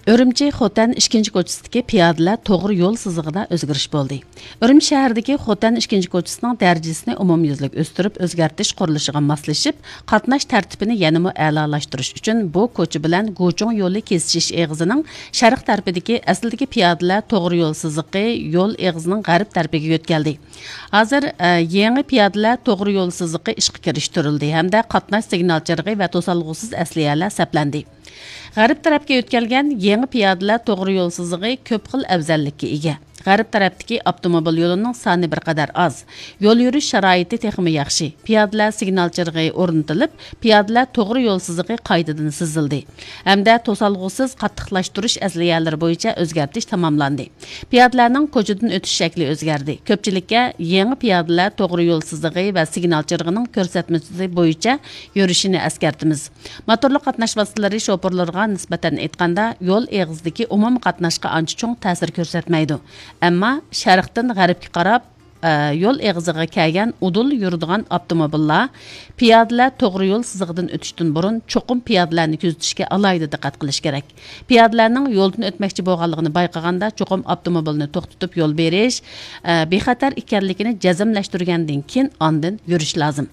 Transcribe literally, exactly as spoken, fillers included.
ئۈرۈمچى خوتەن ئىككىنچى كوچىسىدىكى پىيادىلەر توغرا يول سىزىقىدا ئۆزگىرىش بولدى. ئۈرۈمچى شەھىرىدىكى خوتەن ئىككىنچى كوچىسىنىڭ دەرىجىسىنى ئومۇميۈزلۈك ئۆستۈرۈپ، ئۆزگەرتىش قۇرۇلۇشىغا ماسلىشىپ، قاتناش تەرتىپىنى يەنىمۇ ئەلالاشتۇرۇش ئۈچۈن بۇ كوچا بىلەن گۇچۇڭ يولى كېسىشىش ئېغىزىنىڭ شەرق تەرىپىدىكى ئەسلىدىكى پىيادىلەر توغرا يول سىزىقى يول ئېغىزىنىڭ غەرب تەرىپىگە يۆتكەلدى. ھازىر، ئە، يېڭى پىيادىلەر توغرا يول سىزىقى ئىشقا كىرىشتۈرۈلدى ھەمدە قاتناش سىگنال چىرىغى ۋە توسالغۇسىز ئەسلىھەلەر سەپلەندى. غەرب تەرەپكە يۆتكەلگەن يېڭى پىيادىلەر توغرا يول سىزىقى كۆپ خىل ئەۋزەللىككە ئىگە. غەرب تەرەپتىكى ئاپتوموبىل يولىنىڭ سانى بىر قەدەر ئاز، يول يۈرۈش شارائىتى تېخىمۇ ياخشى، پىيادىلەر سىگنال چىرىغى ئورنىتىلىپ، پىيادىلەر توغرا يول سىزىقى قايتىدىن سىزىلدى ھەمدە توسالغۇسىز قاتتىقلاشتۇرۇش ئەسلىھەلىرى بويىچە ئۆزگەرتىش تاماملاندى. پىيادىلەرنىڭ كوچىدىن ئۆتۈش شەكلى ئۆزگەردى. كۆپچىلىككە يېڭى پىيادىلەر توغرا يول سىزىقى ۋە سىگنال چىرىغىنىڭ كۆرسەتمىسى بويىچە يۈرۈشىنى ئەسكەرتىمىز. موتورلۇق قاتناش ۋاسىتىلىرى شوپۇرلىرىغا نىسبەتەن ئېيتقاندا، يول ئېغىزىدىكى ئومۇمىي قاتناشقا ئانچە چوڭ تەسىر كۆرسەتمەيدۇ. ئەمما شەرقتىن غەربكە قاراپ، ئە، يول ئېغىزىغا كەلگەن ئۇدۇل يۈرىدىغان ئاپتوموبىللار، پىيادىلەر توغرا يول سىزىقىدىن ئۆتۈشتىن بۇرۇن چوقۇم پىيادىلەرنى كۆزىتىشكە ئالاھىدە دىققەت قىلىش كېرەك. پىيادىلەرنىڭ يولدىن ئۆتمەكچى بولغانلىقىنى بايقىغاندا، چوقۇم ئاپتوموبىلنى توختىتىپ يول بېرىش، ئە، بىخەتەر ئىكەنلىكىنى جەزملەشتۈرگەندىن كېيىن ئاندىن يۈرۈش لازىم.